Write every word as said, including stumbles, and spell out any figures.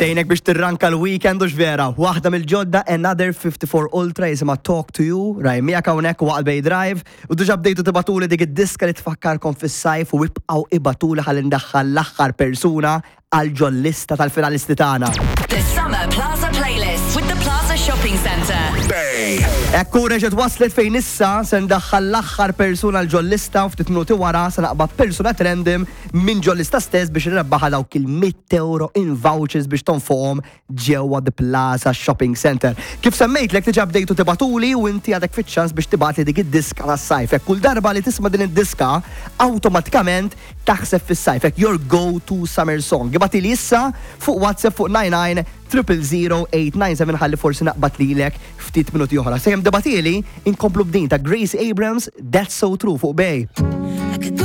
Tgħinek biex tirranka l-weekend u vera. Waħda mill-ġodda, Another fifty-four Ultra, jisimha Talk to You, raj miegħek hawnhekk waqt Bay Drive, u diġà bdejtu tibagħtuli dik id-diska li tfakkarkom fis-sajf u ibqgħu ibagħtuli ħalli ndaħħal l-aħħar persuna għal ġol-lista tal-finalisti tagħna. The Summer Plaza Playlist with the Plaza Shopping Centre. Bay. Ekku reġgħet waslet fejn issa se ndaħħal l-aħħar persuna għal ġol-lista u ftit minuti wara se naqbad persuna random minn ġol-lista stess biex nrebbaħ dawk il-mitt euro in vouchers biex tonfoqhom ġewwa The Plaza Shopping Center. Kif semmejtlek, diġà bdejtu tibagħtuli u inti għadek fiċ-ċans biex tibgħatli dik id-diska tas-sajf. Hekk kull darba li tisma' din id-diska awtomatikament taħseb fis-sajf. Hekk your go-to summer song. Ibgħatli issa fuq WhatsApp fuq nine nine triple zero eight nine seven ħalli forsi naqbad lilek ftit minuti oħra. Sakemm tibgħatli, inkomplu b'din ta' Grace Abrams, That's So True, fuq Bay.